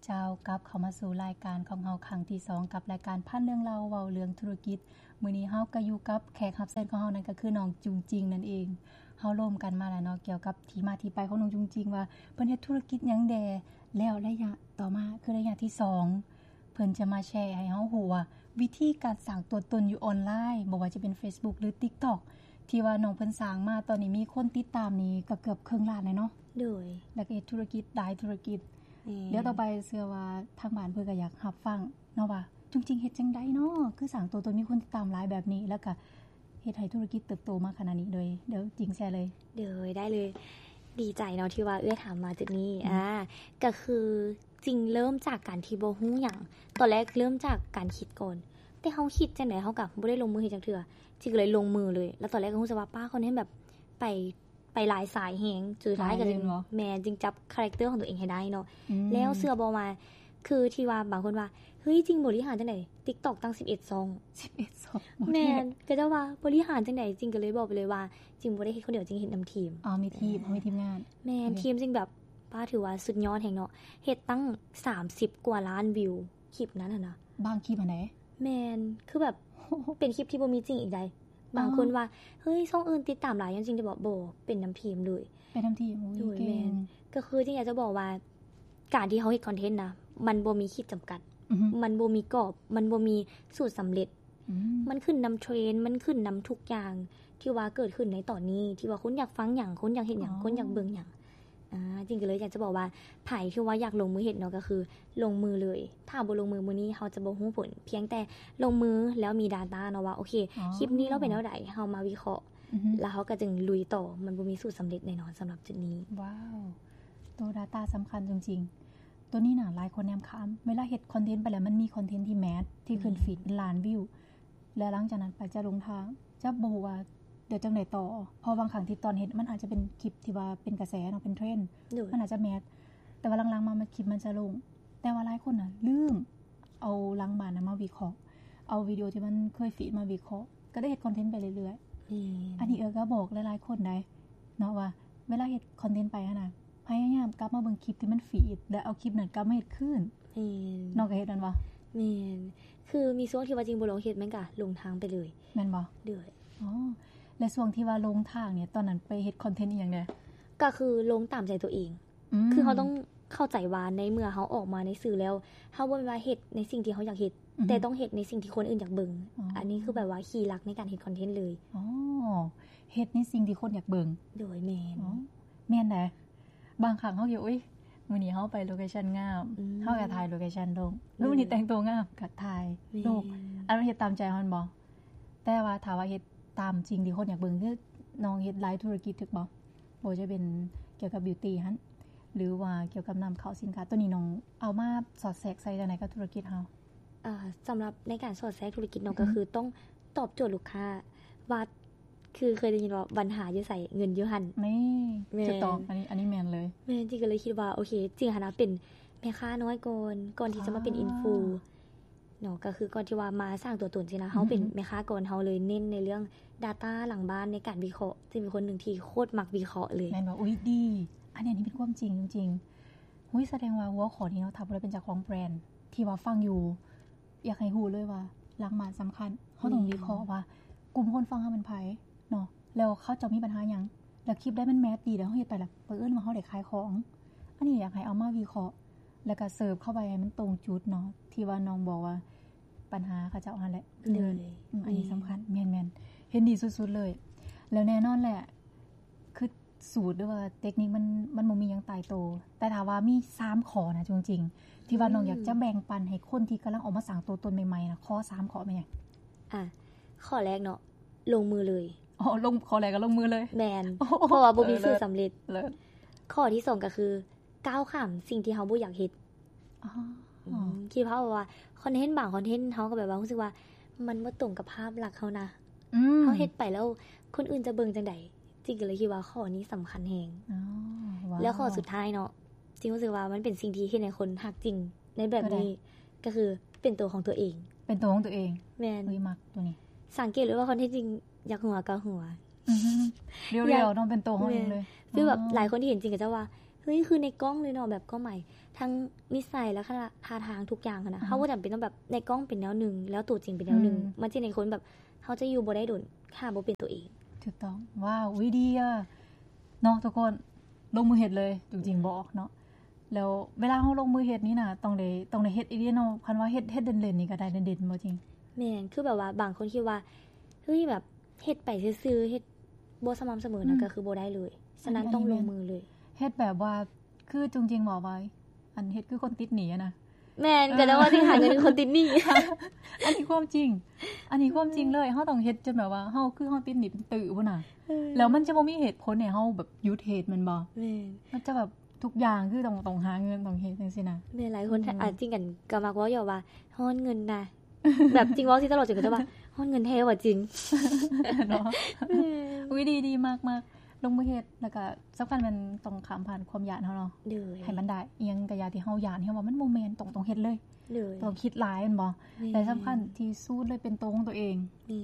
ເຈົ້າ ກັບເຂົ້າມາສູ່ລາຍການຂອງເຮົາຄັ້ງທີສອງ ກັບລາຍການພັນເລື່ອງລາວເວົ້າເລື່ອງທຸລະກິດ. ມື້ນີ້ເຮົາກໍຢູ່ກັບແຂກຮັບເຊີນຂອງເຮົາ ນັ້ນກໍຄືນ້ອງຈຸງຈິງນັ້ນເອງ. ເຮົາລົມກັນມາແລ້ວເນາະ ກ່ຽວກັບທີ່ມາທີ່ໄປຂອງນ້ອງຈຸງຈິງ ວ່າເພິ່ນເຮັດທຸລະກິດຫຍັງແດ່ ແລ້ວໄລຍະຕໍ່ມາ ຄືໄລຍະທີສອງ ເພິ່ນຈະມາແຊໃຫ້ເຮົາຮູ້ວ່າ ວິທີການສ້າງຕົວຕົນຢູ່ອອນລາຍ ບໍ່ວ່າຈະເປັນ Facebook ຫຼື TikTok ທີ່ວ່ານ້ອງເພິ່ນສ້າງມາ ຕອນນີ້ມີຄົນຕິດຕາມນີ້ກໍເກືອບເຄິ່ງລ້ານແລ້ວເນາະ. ໂດຍ ແລ້ວກໍເຮັດທຸລະກິດຫຼາຍທຸລະກິດ. ແມ່ນ ດຽວຕໍ່ໄປເຊື່ອວ່າທາງບ້ານເພິ່ນກໍຢາກຮັບຟັງເນາະ ວ່າຈຸງຈິງເຮັດຈັ່ງໃດເນາະ ຄືສ້າງຕົວຕົນ ມີຄົນຕິດຕາມຫຼາຍແບບນີ້ ແລ້ວກໍເຮັດໃຫ້ທຸລະກິດເຕີບໂຕມາຂະໜາດນີ້. ໂດຍ ດຽວຈິງແຊເລີຍ. ໂດຍ ໄດ້ເລີຍ. ດີໃຈເນາະທີ່ວ່າເອື້ອຍຖາມມາຈຸດນີ້. ອືມ ອ່າ ກໍຄືຈິງເລີ່ມຈາກການທີ່ບໍ່ຮູ້ຫຍັງ. ຕອນແລກເລີ່ມຈາກການຄິດກ່ອນ ແຕ່ເຮົາຄິດຈັ່ງໃດເຮົາກໍບໍ່ໄດ້ລົງມືເຮັດຈັກເທື່ອ. ຈິງກໍເລີຍລົງມືເລີຍ. ແລ້ວຕອນແລກກໍຮູ້ສຶກວ່າ ປ້າ ຄອນເທັນແບບໄປ ໄປຫຼາຍສາຍແຮງ ສຸດທ້າຍກໍຈຶ່ງ ຫຼາຍເລີຍແມ່ນບໍ່? ແມ່ນ ຈຶ່ງຈັບຄາແຣັກເຕີຂອງຕົວເອງໃຫ້ໄດ້ເນາະ. ອືມ ແລ້ວເຊື່ອບໍ່ວ່າ ຄືທີ່ວ່າບາງຄົນວ່າ ເຮີ້ຍ ຈິງບໍລິຫານຈັ່ງໃດ TikTok ຕັ້ງສິບເອັດຊ່ອງ. ສິບເອັດຊ່ອງ ແມ່ນ ເຂົາເຈົ້າວ່າບໍລິຫານຈັ່ງໃດ? ຈິງກໍເລີຍບອກໄປເລີຍວ່າ ຈິງບໍ່ໄດ້ເຮັດຄົນດຽວ ຈິງເຮັດນຳທີມ. ອໍ ມີທີມ ມີທີມງານ. ແມ່ນ ໂອເຄ ທີມຈິງແບບ ປ້າ ຖືວ່າສຸດຍອດແຮງເນາະ ເຮັດຕັ້ງສາມສິບກວ່າລ້ານວິວ ຄລິບນັ້ນຫັ້ນນະ. ບາງຄລິບຫັ້ນໃດ? ແມ່ນ ຄືແບບ ເປັນຄລິບທີ່ບໍ່ມີຈິງອີກໃດ໋. ບາງຄົນວ່າ ເຮີ້ຍ ຊ່ອງອື່ນຕິດຕາມຫຼາຍ ຍ້ອນຈິງຈະບອກ ບໍ່ ເປັນນຳທີມເລີຍ. ເປັນນຳທີມ. ໂອ້ຍ ເກັ່ງ. ກໍຄືຈິງຢາກຈະບອກວ່າ ການທີ່ເຮົາເຮັດຄອນເທັນນະ ມັນບໍ່ມີຂີດຈຳກັດ. ອືຮຶ ມັນບໍ່ມີກອບ ມັນບໍ່ມີສູດສຳເລັດ. ອືມ ມັນຂຶ້ນນຳເທຣນ ມັນຂຶ້ນນຳທຸກຢ່າງທີ່ວ່າເກີດຂຶ້ນໃນຕອນນີ້ ທີ່ວ່າຄົນຢາກຟັງຫຍັງ ຄົນຢາກເຮັດຫຍັງ ອໍ ຄົນຢາກເບິ່ງຫຍັງ. ອ່າ ຈິງກໍເລີຍຢາກຈະບອກວ່າ ໃຜທີ່ວ່າຢາກລົງມືເຮັດເນາະ ກໍຄືລົງມືເລີຍ. ຖ້າບໍ່ລົງມືມື້ນີ້ ເຮົາຈະບໍ່ຮູ້ຜົນ. ພຽງແຕ່ລົງມືແລ້ວມີ data ເນາະ ວ່າ ໂອເຄ ອໍ ຄລິບນີ້ລາວເປັນແນວໃດ ເຮົາມາວິເຄາະ ອືຮຶ ແລ້ວເຮົາກໍຈຶ່ງລຸຍຕໍ່. ມັນບໍ່ມີສູດສຳເລັດແນ່ນອນສຳລັບຈຸດນີ້. ວ້າວ ໂຕ data ສຳຄັນຈິງໆ. ໂຕນີ້ນະ ຫຼາຍຄົນແນມຂ້າມ. ເວລາເຮັດຄອນເທັນໄປແລ້ວ ມັນມີຄອນເທັນທີ່ແມດ ທີ່ຂຶ້ນ ອືມ ຟີດເປັນລ້ານວິວ ແລ້ວຫຼັງຈາກນັ້ນໄປຈະລົງທາງ ຈະບໍ່ຮູ້ວ່າດຽວຈັ່ງໃດຕໍ່. ເພາະບາງຄັ້ງທີ່ຕອນເຮັດ ມັນອາດຈະເປັນຄລິບທີ່ວ່າເປັນກະແສເນາະ ເປັນເທຣນ ໂດຍ ມັນອາດຈະແມດ ແຕ່ວ່າຫຼັງໆມາ ມັນ ຄລິບມັນຈະລົງ. ແຕ່ວ່າຫຼາຍຄົນນະລືມເອົາຫຼັງບ້ານນະມາວິເຄາະ ເອົາວິດີໂອທີ່ມັນເຄີຍຟີດມາວິເຄາະ ກໍໄດ້ເຮັດຄອນເທັນໄປເລື້ອຍໆ. ແມ່ນ ອັນນີ້ເອື້ອຍກໍບອກຫຼາຍໆຄົນໄດ໋ເນາະ ວ່າເວລາເຮັດຄອນເທັນໄປຫັ້ນນະ ພະຍາຍາມກັບມາເບິ່ງຄລິບທີ່ມັນຟີດ ແລ້ວເອົາຄລິບນັ້ນກັບມາເຮັດຄືນ. ແມ່ນ ນ້ອງກໍເຮັດແມ່ນບໍ່? ແມ່ນ ຄືມີຊ່ວງທີ່ວ່າຈິງບໍ່ລອງເຮັດ ມັນກໍລົງທາງໄປເລີຍ. ແມ່ນບໍ່? ໂດຍ. ອໍ ແລະຊ່ວງທີ່ວ່າລົງທາງນີ້ ຕອນນັ້ນໄປເຮັດຄອນເທັນອີ່ຫຍັງແດ່? ກໍຄືລົງຕາມໃຈຕົວເອງ. ອືມ ຄືເຮົາຕ້ອງເຂົ້າໃຈວ່າ ໃນເມື່ອເຮົາອອກມາໃນສື່ແລ້ວ ເຮົາບໍ່ແມ່ນວ່າເຮັດໃນສິ່ງທີ່ເຮົາຢາກເຮັດ ອືຮຶ ແຕ່ຕ້ອງເຮັດໃນສິ່ງທີ່ຄົນອື່ນຢາກເບິ່ງ. ອໍ ອັນນີ້ຄືແບບວ່າຄີຫຼັກໃນການເຮັດຄອນເທັນເລີຍ. ອໍ ເຮັດໃນສິ່ງທີ່ຄົນຢາກເບິ່ງ. ໂດຍ ແມ່ນ. ອໍ ແມ່ນໃດ໋. ບາງຄັ້ງເຮົາກໍ ອຸ້ຍ ມື້ນີ້ເຮົາໄປໂລເຄຊັນງາມ ອືມ ເຮົາກໍຖ່າຍໂລເຄຊັນລົງ. ເອີ ມື້ນີ້ແຕ່ງຕົວງາມ ກໍຖ່າຍ ແມ່ນ ລົງ. ອັນນັ້ນເຮັດຕາມໃຈເຮົາແມ່ນບໍ່? ແຕ່ວ່າຖ້າວ່າເຮັດຕາມສິ່ງທີ່ຄົນຢາກເບິ່ງ ຄືນ້ອງເຮັດຫຼາຍທຸລະກິດຖືກບໍ່? ບໍ່ວ່າຈະເປັນກ່ຽວກັບບິວຕີຫັ້ນ ຫຼືວ່າກ່ຽວກັບນຳເຂົ້າສິນຄ້າ ໂຕນີ້ນ້ອງເອົາມາສອດແຊກໃສ່ຈັ່ງໃດກັບທຸລະກິດເຮົາ? ອ່າ ສຳລັບໃນການສອດແຊກທຸລະກິດເນາະ ອືຮຶ ກໍຄືຕ້ອງຕອບໂຈດລູກຄ້າວ່າ ຄືເຄີຍໄດ້ຍິນວ່າ ບັນຫາຢູ່ໃສ ເງິນຢູ່ຫັ້ນ. ນີ້ ແມ່ນ ຖືກຕ້ອງ ອັນນີ້ ອັນນີ້ແມ່ນເລີຍ. ແມ່ນ ຈິງກໍເລີຍຄິດວ່າ ໂອເຄ ຈິງຫັ້ນນະເປັນແມ່ຄ້ານ້ອຍກ່ອນ ກ່ອນທີ່ຈະມາເປັນ ອໍ ອິນຟູເນາະ ກໍຄືກ່ອນທີ່ວ່າມາສ້າງຕົວຕົນຊີ້ນະ ອືຮຶ ເຮົາເປັນແມ່ຄ້າກ່ອນ ເຮົາເລີຍເນັ້ນໃນເລື່ອງ data ຫຼັງບ້ານໃນການວິເຄາະ ເຊິ່ງເປັນຄົນໜຶ່ງທີ່ໂຄດມັກວິເຄາະເລີຍ. ແມ່ນບໍ່? ອຸ້ຍ ດີ ອັນນີ້ ອັນນີ້ເປັນຄວາມຈິງຈິງໆ. ຫຸ້ຍ ສະແດງວ່າຫົວຂໍ້ນີ້ເນາະ ຖ້າຜູ້ໃດເປັນເຈົ້າຂອງແບຣນທີ່ວ່າຟັງຢູ່ ຢາກໃຫ້ຮູ້ເລີຍວ່າຫຼັງບ້ານສຳຄັນ ເຮົາຕ້ອງ ແມ່ນ ວິເຄາະວ່າກຸ່ມຄົນຟັງເຮົາແມ່ນໃຜເນາະ ແລ້ວເຂົາເຈົ້າມີບັນຫາຫຍັງ ແລ້ວຄລິບໃດມັນແມດດີ ແລ້ວເຮົາເຮັດໄປແລ້ວ ບັງເອີນວ່າເຮົາໄດ້ຂາຍຂອງ. ອັນນີ້ຢາກໃຫ້ເອົາມາວິເຄາະ ແລ້ວກໍເສີບເຂົ້າໄປໃຫ້ມັນຕົງຈຸດເນາະ ທີ່ວ່ານ້ອງບອກວ່າ ບັນຫາເຂົາເຈົ້າຫັ້ນແຫຼະ. ໂດຍ ອືມ ອັນນີ້ ແມ່ນ ສຳຄັນ ແມ່ນໆ ເຫັນດີສຸດໆເລີຍ. ແລ້ວແນ່ນອນແຫຼະ ຄືສູດ ຫຼືວ່າເຕັກນິກມັນ ມັນບໍ່ມີຫຍັງຕາຍໂຕ ແຕ່ຖ້າວ່າມີສາມຂໍ້ນະ ຈິງໆ ທີ່ວ່າ ອືມ ນ້ອງຢາກຈະແບ່ງປັນໃຫ້ຄົນທີ່ກຳລັງອອກມາສ້າງຕົວຕົນໃໝ່ໆນະ ຂໍສາມຂໍ້ແມ່ນຫຍັງ? ອ່ະ ຂໍ້ແລກເນາະ ລົງມືເລີຍ. ອໍ ລົງ ຂໍ້ແລກກໍລົງມືເລີຍ. ແມ່ນ ໂອ້ ເພາະວ່າບໍ່ມີ ເອີ ສູດສຳເລັດ. ເລີດ ເລີດ. ຂໍ້ທີສອງກໍຄື ກ້າວຂ້າມສິ່ງທີ່ເຮົາບໍ່ຢາກເຮັດ. ອໍ ອືມ ຄິດພາບວ່າຄອນເທັນບາງຄອນເທັນ ເຮົາກໍແບບວ່າຮູ້ສຶກວ່າມັນບໍ່ຕົງກັບພາບລັກເຮົານະ. ອືມ ເຮົາເຮັດໄປແລ້ວຄົນອື່ນຈະເບິ່ງຈັ່ງໃດ? ຈິງກໍເລີຍຄິດວ່າຂໍ້ນີ້ສຳຄັນແຮງ. ອໍ ວ້າວ ແລ້ວຂໍ້ສຸດທ້າຍເນາະ ຈິງຮູ້ສຶກວ່າມັນເປັນສິ່ງທີ່ເຮັດໃຫ້ຄົນຮັກຈິງໃນແບບນີ້ ໂຕໃດ? ກໍຄືເປັນໂຕຂອງຕົວເອງ. ເປັນໂຕຂອງຕົວເອງ. ແມ່ນ. ເອີຍ ມັກໂຕນີ້. ສັງເກດເລີຍວ່າຄອນເທັນຈິງຢາກຫົວກໍຫົວ. ອືຮຶ ຮຽວໆເນາະ ເປັນໂຕເຮົາເອງເລີຍ. ແມ່ນ. ຄືແບບ ອໍ ຫຼາຍຄົນທີ່ເຫັນຈິງກໍຈະວ່າ ຄືໃນກ້ອງເລີຍເນາະ ແບບຄວາມໝາຍທັງນິໄສ ລັກສະນະ ທ່າທາງ ທຸກຢ່າງຫັ້ນນະ ເຮົາບໍ່ຈຳເປັນຕ້ອງແບບໃນກ້ອງເປັນແນວໜຶ່ງ ແລ້ວໂຕຈິງເປັນແນວໜຶ່ງ ມັນຊິເຮັດໃຫ້ຄົນແບບ ເຮົາຈະຢູ່ບໍ່ໄດ້ດົນ ຖ້າບໍ່ເປັນໂຕເອງ. ຖືກຕ້ອງ. ວ້າວ ອຸ້ຍ ດີອະ ເນາະທຸກຄົນ ລົງມືເຮັດເລີຍ ຈຸງຈິງບອກເນາະ. ແລ້ວເວລາເຮົາລົງມືເຮັດນີ້ນະ ຕ້ອງໄດ້ ຕ້ອງໄດ້ເຮັດອີ່ຫຼີເນາະ. ຄັນວ່າເຮັດ ເຮັດເດັ່ນໆນີ້ກໍໄດ້ເດັ່ນໆ ບໍ່ຈິງ? ແມ່ນ ຄືແບບວ່າບາງຄົນຄິດວ່າ ເຮີ້ຍ ແບບເຮັດໄປຊື່ໆ ເຮັດບໍ່ສະໝ່ຳສະເໝີນະ ກໍຄືບໍ່ໄດ້ເລີຍ. ສະນັ້ນຕ້ອງລົງມືເລີຍ. ເຮັດແບບວ່າ ຄືຈຸງຈິງບອກວ່າ ອັນເຮັດຄືຄົນຕິດໜີ້ຫັ້ນນະ. ແມ່ນ ກໍໄດ້ວ່າຊິຫາເງິນຄົນຕິດໜີ້. ອັນນີ້ຄວາມຈິງ ອັນນີ້ຄວາມຈິງເລີຍ. ເຮົາຕ້ອງເຮັດຈົນແບບວ່າ ເຮົາຄືເຮົາຕິດໜີ້ເປັນຕື້ພຸ້ນນະ. ແລ້ວມັນຈະບໍ່ມີເຫດຜົນໃຫ້ເຮົາແບບຢຸດເຮັດແມ່ນບໍ່? ແມ່ນ ມັນຈະແບບທຸກຢ່າງຄືຕ້ອງ ຕ້ອງຫາເງິນ ຕ້ອງເຮັດຈັ່ງຊີ້ນະ. ແມ່ນ ຫຼາຍຄົນ ອາ ຈິງກັນກໍມັກເວົ້າຢູ່ວ່າ ຮ້ອນເງິນນະ ແບບຈິງເວົ້າຊິຕະຫຼອດ ຈິງກໍຈະວ່າ ຮ້ອນເງິນແທ້ວ່າຈິງເນາະ. ອຸ້ຍ ດີໆ ມັກໆ ລົງມືເຮັດ ແລ້ວກໍສຳຄັນແມ່ນຕ້ອງຂ້າມຜ່ານຄວາມຢ້ານເຮົາເນາະ ໃຫ້ມັນໄດ້. ອີ່ຫຍັງກໍຢ່າທີ່ເຮົາຢ້ານ ເຮົາວ່າມັນບໍ່ແມ່ນ ຕ້ອງ ຕ້ອງເຮັດເລີຍ. ຕ້ອງຄິດຫຼາຍແມ່ນບໍ່? ແລະສຳຄັນທີ່ສຸດເລີຍເປັນໂຕຂອງຕົວເອງ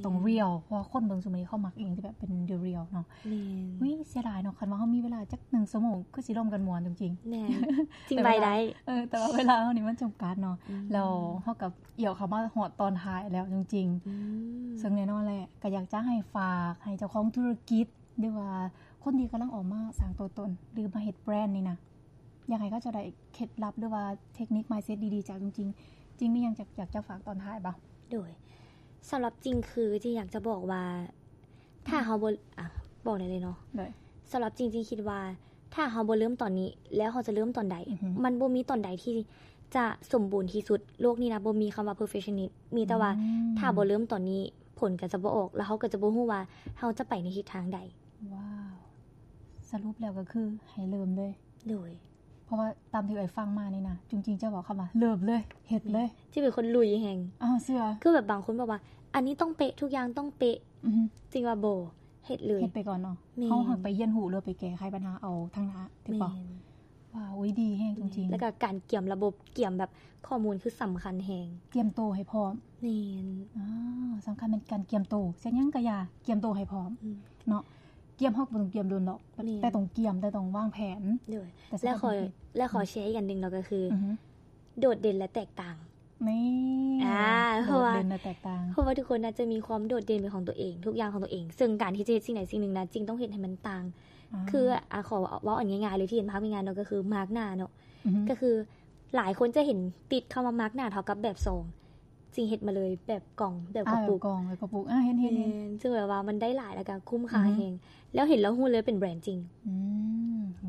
ຕ້ອງ real ເພາະວ່າຄົນເບິ່ງຊຸມື້ນີ້ເຂົາມັກອີ່ຫຍັງທີ່ແບບເປັນ real ເນາະ. ອຸ້ຍ ເສຍດາຍເນາະ ຄັນວ່າເຮົາມີເວລາຈັກໜຶ່ງຊົ່ວໂມງ ຄືຊິລົມກັນມ່ວນຈຸງຈິງ. ແມ່ນ ຈິງໄວໄດ້ ແຕ່ວ່າເວລາເຮົານີ້ມັນຈຳກັດເນາະ. ແລ້ວເຮົາກໍ ອຽວເຂົ້າມາຮອດຕອນທ້າຍແລ້ວຈິງໆ ເຊິ່ງແນ່ນອນແຫຼະ ກໍຢາກຈະໃຫ້ຝາກໃຫ້ເຈົ້າຂອງທຸລະກິດ ຫຼືວ່າຄົນທີ່ກຳລັງອອກມາສ້າງຕົວຕົນ ຫຼືມາເຮັດແບຣນນີ້ນະ ຢາກໃຫ້ເຂົາເຈົ້າໄດ້ເຄັດລັບ ຫຼືວ່າເທັກນິກ mindset ດີໆ ຈາກຈິງໆ. ຈິງມີຫຍັງຢາກ ຢາກຈະຝາກຕອນທ້າຍບໍ່? ໂດຍ ສຳລັບຈິງຄືຈິງຢາກຈະບອກວ່າ ຖ້າເຮົາບໍ່ ອາ ບອກໄດ້ເລີຍເນາະ. ໂດຍ ສຳລັບຈິງ ຈິງຄິດວ່າ ຖ້າເຮົາບໍ່ເລີ່ມຕອນນີ້ ແລ້ວເຮົາຈະເລີ່ມຕອນໃດ? ມັນບໍ່ມີຕອນໃດທີ່ຈະສົມບູນທີ່ສຸດ. ໂລກນີ້ນະ ບໍ່ມີຄຳວ່າ perfectionist ມີແຕ່ວ່າ ຖ້າບໍ່ເລີ່ມຕອນນີ້ ຜົນກໍຈະບໍ່ອອກ ແລ້ວເຮົາກໍຈະບໍ່ຮູ້ວ່າເຮົາຈະໄປໃນທິດທາງໃດ. ວ້າວ ສະຫຼຸບແລ້ວກໍຄືໃຫ້ເລີ່ມເລີຍ. ໂດຍ ເພາະວ່າຕາມທີ່ເອື້ອຍຟັງມານີ້ນະ ຈຸງຈິງຈະເວົ້າຄຳວ່າ ເລີ່ມເລີຍ ເຮັດເລີຍ ຈິງເປັນຄົນລຸຍແຮງ. ເຊື່ອ ຄືແບບບາງຄົນບອກວ່າ ອັນນີ້ຕ້ອງເປະ ທຸກຢ່າງຕ້ອງເປະ. ຈິງວ່າບໍ່ ເຮັດເລີຍ ເຮັດໄປກ່ອນເນາະ. ເຮົາຫາກໄປຮຽນຮູ້ ຫຼືໄປແກ້ໄຂບັນຫາເອົາທາງໜ້າ ຖືກບໍ່? ວ້າວ ອຸ້ຍ ດີແຮງຈິງໆ. ແລ້ວກໍການກຽມລະບົບ ກຽມແບບຂໍ້ມູນຄືສຳຄັນແຮງ. ກຽມໂຕໃຫ້ພ້ອມ. ແມ່ນ ສຳຄັນແມ່ນການກຽມໂຕ. ເຮັດຫຍັງກໍຢ່າ ກຽມໂຕໃຫ້ພ້ອມເນາະ. ກຽມເຮົາກໍບໍ່ຕ້ອງກຽມດົນດອກ ແຕ່ຕ້ອງກຽມ ແຕ່ຕ້ອງວາງແຜນ. ໂດຍ ແລະຂໍ ແລະຂໍແຊອີກອັນໜຶ່ງເນາະ ກໍຄື ໂດດເດັ່ນ ແລະ ແຕກຕ່າງ. ນີ້ ອາ ເພາະວ່າ ໂດດເດັ່ນ ແລະ ແຕກຕ່າງ ເພາະວ່າທຸກຄົນນະຈະມີຄວາມໂດດເດັ່ນເປັນຂອງຕົວເອງ ທຸກຢ່າງຂອງຕົວເອງ ເຊິ່ງການທີ່ຈະເຮັດສິ່ງໃດສິ່ງໜຶ່ງນະ ຈິງຕ້ອງເຮັດໃຫ້ມັນຕ່າງ. ຄື ອາ ຂໍເວົ້າອັນງ່າຍໆເລີຍ ທີ່ເຫັນພາບງ່າຍໆເນາະ ກໍຄືມາກໜ້າເນາະ. ກໍຄືຫຼາຍຄົນຈະເຫັນຕິດຄຳວ່າມາກໜ້າເທົ່າກັບແບບຊອງ. ຈິງເຮັດມາເລີຍ ແບບກ່ອງ ແບບກະປຸກ ອາ ແບບກ່ອງ ແບບກະປຸກ ອາ ເຫັນໆໆ ເຫັນ ເຊິ່ງແບບວ່າມັນໄດ້ຫຼາຍ ແລ້ວກໍຄຸ້ມຄ່າແຮງ. ແລ້ວເຫັນແລ້ວຮູ້ເລີຍເປັນແບຣນຈິງ.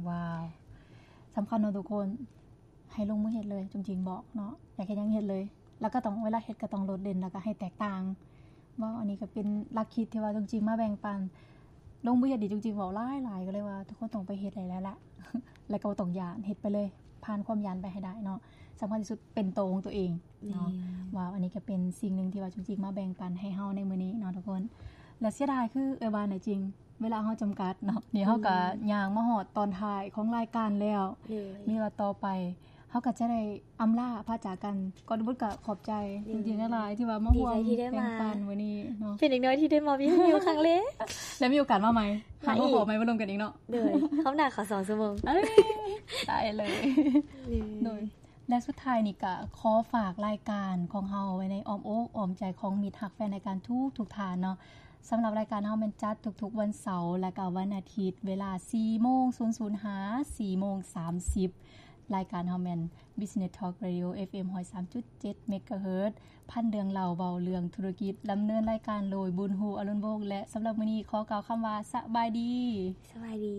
ວ້າວ ສຳຄັນເນາະທຸກຄົນ ໃຫ້ລົງມືເຮັດເລີຍ ຈຸງຈິງບອກເນາະ ຢາກເຮັດຫຍັງເຮັດເລີຍ. ແລ້ວກໍຕ້ອງ ເວລາເຮັດກໍຕ້ອງໂດດເດັ່ນ ແລ້ວກໍໃຫ້ແຕກຕ່າງ. ເວົ້າ ອັນນີ້ກໍເປັນຫຼັກຄິດທີ່ວ່າຈຸງຈິງມາແບ່ງປັນ. ລົງມືເຮັດນີ້ ຈຸງຈິງເວົ້າຫຼາຍໆ ກໍເລີຍວ່າທຸກຄົນຕ້ອງໄປເຮັດໃຫ້ແລ້ວລະ ແລ້ວກໍບໍ່ຕ້ອງຢ້ານ ເຮັດໄປເລີຍ ຜ່ານຄວາມຢ້ານໄປໃຫ້ໄດ້ເນາະ. ສຳຄັນທີ່ສຸດເປັນໂຕຂອງຕົວເອງເນາະ. ແມ່ນ ວ້າວ ອັນນີ້ກໍເປັນສິ່ງໜຶ່ງທີ່ວ່າຈຸງຈິງມາແບ່ງປັນໃຫ້ເຮົາໃນມື້ນີ້ເນາະທຸກຄົນ. ແລະ ເສຍດາຍຄືເອື້ອຍວ່ານະຈິງ ເວລາເຮົາຈຳກັດເນາະ. ນີ້ເຮົາກໍຍ່າງມາຮອດຕອນທ້າຍຂອງລາຍການແລ້ວ. ມີວ່າຕໍ່ໄປເຮົາກໍຈະໄດ້ອຳລາພາຈາກກັນ. ກ່ອນອື່ນກໍຂອບໃຈຈິງໆຫຼາຍໆ ທີ່ວ່າມາຮ່ວມແບ່ງປັນມື້ນີ້ເນາະ. ເປັນເດັກນ້ອຍທີ່ໄດ້ມາວິທະຍຸຄັ້ງແລກ ແລະ ມີໂອກາດມາໃໝ່ ມາອີກ ມາພໍ້ໃໝ່ ມາລົມກັນອີກເນາະ. ໂດຍ ຮອບໜ້າຂໍສອງຊົ່ວໂມງ. ເອີຍ ໄດ້ເລີຍ. ໂດຍ ແລະ ສຸດທ້າຍນີ້ກໍຂໍຝາກລາຍການຂອງເຮົາໄວ້ໃນອ້ອມອົກອ້ອມໃຈຂອງມິດຮັກແຟນລາຍການທຸກໆທ່ານເນາະ. ສຳລັບລາຍການເຮົາແມ່ນຈັດທຸກໆວັນເສົາ ແລະ ກໍວັນອາທິດ ເວລາສີ່ໂມງສູນສູນຫາສີ່ໂມງສາມສິບ. ລາຍການເຮົາແມ່ນ Business Talk Radio ເອັຟເອັມ ຮ້ອຍສາມຈຸດເຈັດ ເມກາເຮີດ ພັນເລື່ອງເລົ່າເວົ້າເລື່ອງທຸລະກິດ. ດຳເນີນລາຍການໂດຍ ບຸນຮູ້ ອະລຸນວົງ ແລະ ສຳລັບມື້ນີ້ຂໍກ່າວຄຳວ່າ ສະບາຍດີ. ສະບາຍດີ.